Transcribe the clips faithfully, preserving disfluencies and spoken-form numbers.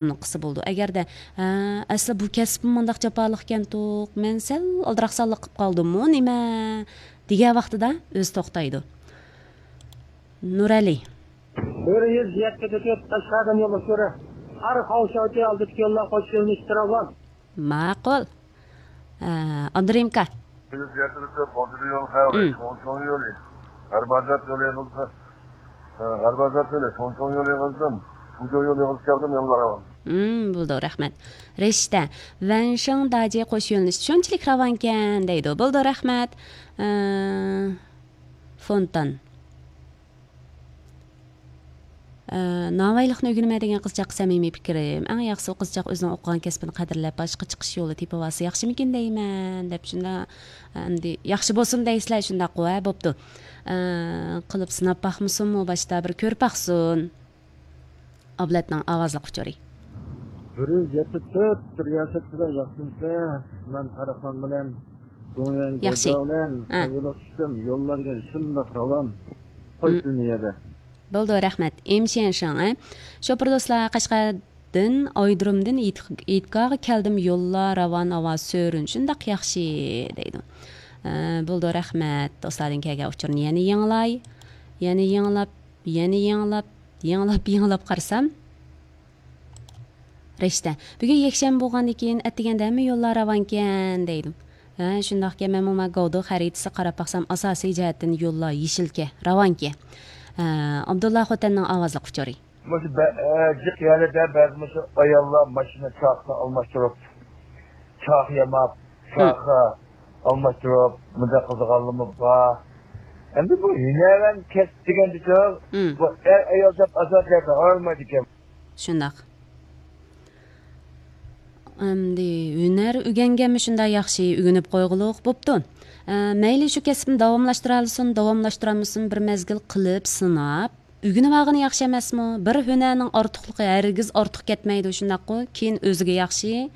قىلسا بولىدۇ. ئەگەردە، ھە، ئەسلى بۇ كەسپىم مۇنداق جاپالىقكەنتۇق، مەن سەل ئالدىراقسانلىق قىلىپ قالدىممۇ نېمە دېگەن ۋاقتىدا ئۆزى توختايدۇ. نۇرئەلى. بىر يۈز يەتتە تۆت قەشقەردىن يوللۇق سۈرە. ھەر خاۋشاۋتى ئالدىدىكى يوللار قوش يۆنىلىشتە راۋان. ماقۇل. ئە، ئابدۇرېھىمكا. بىر يۈز يەتتە تۆت قوشۇلى يول خەۋرى، ئۇم. شوڭشوڭ يولى. غەربىي ئازاد يولى يىغىلسا، ئە، غەربىي ئازاد يولى، شوڭشوڭ يولى يىغىلسىدىن، فۇجو يولى يىغىلسا كەلدىم، يوللار راۋان. ئۇم، بولىدۇ، رەھمەت. رىشتە. ۋەنشىڭ داجى قوش يۆنىلىش شۇنچىلىك راۋانكەن دەيدۇ. بولىدۇ، رەھمەت. ئە، فونتان. ئە، ناۋايلىقنى ئۆگىنىمەن دېگەن قىزچاققا سەمىمىي پىكرىم، ئەڭ ياخشىسى ئۇ قىزچاق ئۆزىنىڭ ئوقۇغان كەسپىنى قەدىرلەپ، باشقا چىقىش يولى تېپىۋالسا ياخشىمىكىن دەيمەن، دەپ شۇنداق، ئەمدى ياخشى بولسۇن دەيسىلەر، شۇنداققۇ، ھە، بوپتۇ. ئە، قىلىپ سىناپ باقمىسۇنمۇ باشتا، بىر كۆرۈپ باقسۇن. ئابلەتنىڭ ئاۋازلىق ئۇچۇرى. بىر يۈز يەتتە تۆت رىياسەتچىلەر ياخشىمۇسىلەر؟ مەن قاراخان بىلەن گۇڭيۈەن ياخشى. گوجاۋ بىلەن ھە. قايغۇلۇق چۈشتۈم. يوللار شۇنداق راۋان. قوي ھم. شۇنى يەردە. بولدى، رەھمەت. ئىم شيەنشىڭ، ھە؟ شوپۇر دوستلار، قەشقەردىن، ئايرودرومدىن يېتىك-، يېتىكاغا كەلدىم. يوللار راۋان، ھاۋا سۆرۈن. شۇنداق ياخشى، دەيدۇ. ئە، بولدى، رەھمەت. دوستلاردىن كەلگەن ئۇچۇرنى يەنە يېڭىلاي. يەنە يېڭىلاپ، يەنە يېڭىلاپ، يېڭىلاپ، يېڭىلاپ قارىسام. رىشتە. بۈگۈن يەكشەنبە بولغاندىكىن، ئەتىگەندە ھەممە يوللار راۋانكەن، دەيدۇ. ھە، شۇنداقكەن، مەنمۇ ما گاۋدۇ خەرىتىسىگە قاراپ باقسام، ئاساسىي جەھەتتىن يوللار يېشىلكەن، راۋانكەن. ھە، ئابدۇللا خوتەننىڭ ئاۋازلىق ئۇچۇرى. مۇشۇ بە-، ئە، جىق يەرلەردە بەزى مۇشۇ ئاياللار ماشىنا چاقىسىنى ئالماشتۇرۇپ، چاقا ياماپ، ھە. چاقا ئالماشتۇرۇپ، مۇنداق قىلىدىغانلىرىمۇ بار. ئەمدى بۇ ھۈنەرۋەن كەسىپ دېگەندىكى، ھە. بۇ ئەر-ئايال دەپ ئازاد يەردە ئايرىلمايدىكەن. شۇنداق. ئەمدى ھۈنەر ئۆگەنگەنمۇ شۇنداق ياخشى، ئۆگىنىپ قويغۇلۇق بوپتۇ. ئە، مەيلى شۇ كەسىپنى داۋاملاشتۇرالىسۇن، داۋاملاشتۇرالمىسۇن، بىر مەزگىل قىلىپ سىناپ، ئۆگىنىۋالغىنى ياخشى ئەمەسمۇ؟ بىر ھۈنەرنىڭ ئارتۇقلۇقى ھەرگىز ئارتۇق كەتمەيدۇ، شۇنداققۇ؟ كېيىن ئۆزىگە ياخشى،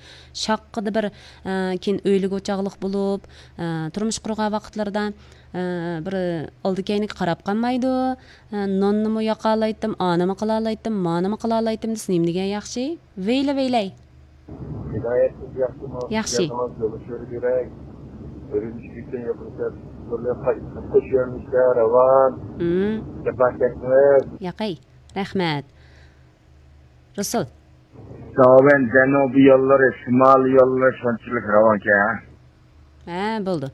شاققىدە بىر، ئە، كېيىن ئۆيلۈك ئوچاقلىق بولۇپ، ئە، تۇرمۇش قۇرغان ۋاقىتلىرىدا، ئە، بىر ئالدى كەينىگە قاراپ قالمايدۇ. ئە، ناننىمۇ ياقالايتتىم، ئانىمۇ قىلالايتتىم، مانىمۇ قىلالايتتىم دېسە نېمە دېگەن ياخشى؟ ۋەيلە، ۋەيلەي. ھىدايەت سىز ياخشىمۇ؟ ياخشى. يازىڭىز يوللىشىۋېرىپ يۈرەي. ئۈرۈمچىدىن يېقىنچە بىرلەپ قايتىپ قوش يۆنىلىشتە راۋان. مم. جاپا چەكمەڭ. ياقەي. رەھمەت. رۇسۇل. داۋەن جەنۇبىي يوللىرى، شىمالىي يوللىرى شۇنچىلىك راۋانكەن. ھە، بولدى.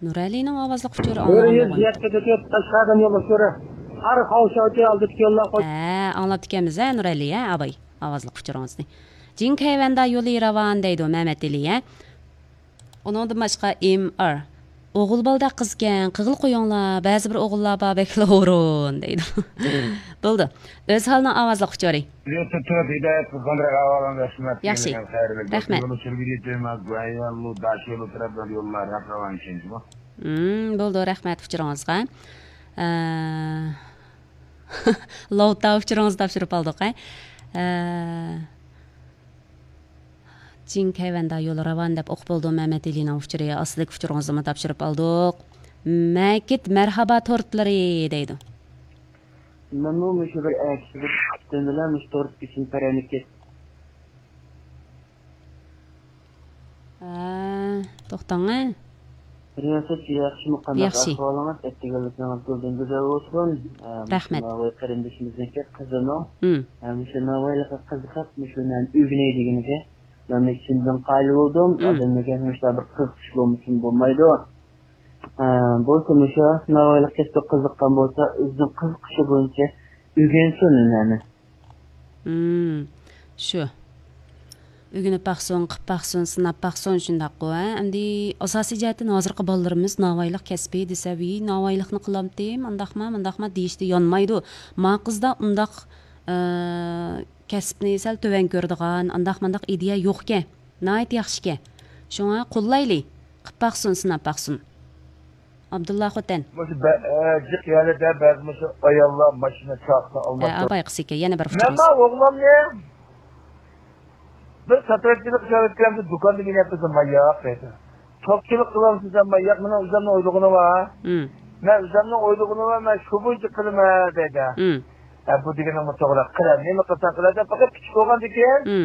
نۇرئەلىنىڭ ئاۋازلىق ئۇچۇرى بىر ئاڭلانغان يۈز بولغان. يەتتە تۆت قەشقەردىن يوللۇق سۈرە. ھەر خاۋشاۋتى ئالدىدىكى يوللار قوش. ھە، ئاڭلاپتىكەنمىز، ھە، نۇرئەلى، ھە، ئاباي. ئاۋازلىق ئۇچۇرىڭىزنى. جىڭكەيۋەندا يولى راۋان دەيدۇ مەمەتئېلى، ھە. ئۇنىڭدىن باشقا ئېم ئار. ئوغۇل بالىدەك قىزكەن، قىغىل قويۇڭلار، بەزى بىر ئوغۇللار بار، بەكلا ھۇرۇن دەيدۇ. بولدى. ئۆزھالنىڭ ئاۋازلىق ئۇچۇرى. يوتۇب تۆت ھىدايەت قىلغان ئەھۋالىڭ رەھمەت. ياخشى. يوللار خەيرلىك. رەھمەت. يولى چۈرگىلى تېماز، گۇەنيەنلۇ، داشيولى تەرەپلەر يوللار ھەق راۋان ئىكەن جۇمۇ. مم، بولدى، رەھمەت ئۇچۇرىڭىزغا. ئە، لاۋتا ئۇچۇرىڭىزنى تاپشۇرۇپ ئالدۇق، ھە. ئە، جىڭكەيۋەندا يولى راۋان دەپ ئوقۇپ بولدۇم، مەمەتئېلىنىڭ ئۇچۇرى ئاستىدىكى ئۇچۇرىڭىزنىمۇ تاپشۇرۇپ ئالدۇق. مەكىت مەرھابا تورتلىرى دەيدۇ. مەنمۇ مۇشۇ بىر ئەتىسى بىر پۈتۈن بىلەن مۇشۇ تورت ئىچىم پەرەنىكى. ھە، توختاڭ، ھە. رىياسەتچى ياخشىمۇ، قانداق ياخشى. ئەھۋالىڭىز؟ ئەتىگەنلىكىڭىز گۈلدىن گۈزەل بولسۇن. ھە، مۇشۇ رەھمەت. ناۋاي قېرىندىشىمىزنىڭكى قىزىنىڭ، ھىم. ھە، مۇشۇ ناۋايلىققا قىزىقىپ، مۇشۇ نەرسىنى ئۆگىنەي دېگىنىگە، مەن چىندىن قايىل بولدۇم. ھىم. ئادەملەرگە مۇشۇنداق بىر قىزىقىش بولمىسىمۇ بولمايدۇ. ھە، بولسا مۇشۇ ناۋايلىق كەسپىگە قىزىققان بولسا، ئۆزىنىڭ قىزىقىشى بويىچە ئۆگەنسۇن ھۈنەرنى. ھىم، شۇ. ئۆگىنىپ باقسۇن، قىپ باقسۇن، سىناپ باقسۇن، شۇنداققۇ، ھە؟ ئەمدى ئاساسىي جەھەتتىن ھازىرقى بالىلىرىمىز ناۋايلىق كەسپى دېسە، ۋىي، ناۋايلىقنى قىلامتىم، ئانداقما، مۇنداقما دېيىشتە يانمايدۇ. ما قىزدا ئۇنداق، ئە، كەسىپنى سەل تۆۋەن كۆرىدىغان، ئانداق مۇنداق ئىدىيە يوقكەن. ناھايىتى ياخشىكەن. شۇڭا قوللايلى، قىپ باقسۇن، سىناپ باقسۇن. ئابدۇللا خوتەن. مۇشۇ بە-، ئە، جىق يەرلەردە بەزى مۇشۇ ئاياللار ماشىنا چاقىسىنى ھە، ئالماشتۇرۇپ. ئاباي قىسىكەن، يەنە بىر مەن ئۇچۇرىمىز. ما ئوغلۇمنى بىر ساتىرەتچىلىك ئىشلەۋەتكەنسە دۇكاندا مېنى يەتكۈزمەي ياق دەيدۇ. توپچىلىق قىلامسىز دېمەي ياق، مېنىڭ ئۆزۈمنىڭ ئويلىغىنى بار. ھىم. مەن ئۆزۈمنىڭ ئويلىغىنى بار، مەن شۇ بويىچە قىلىمەن دەيدۇ. ھىم. ھە، بۇ دېگىنىڭمۇ توغرا. قىلە، نېمە قىلساڭ قىلە دەپ، پەقەت كىچىك بولغاندىكىن، مم.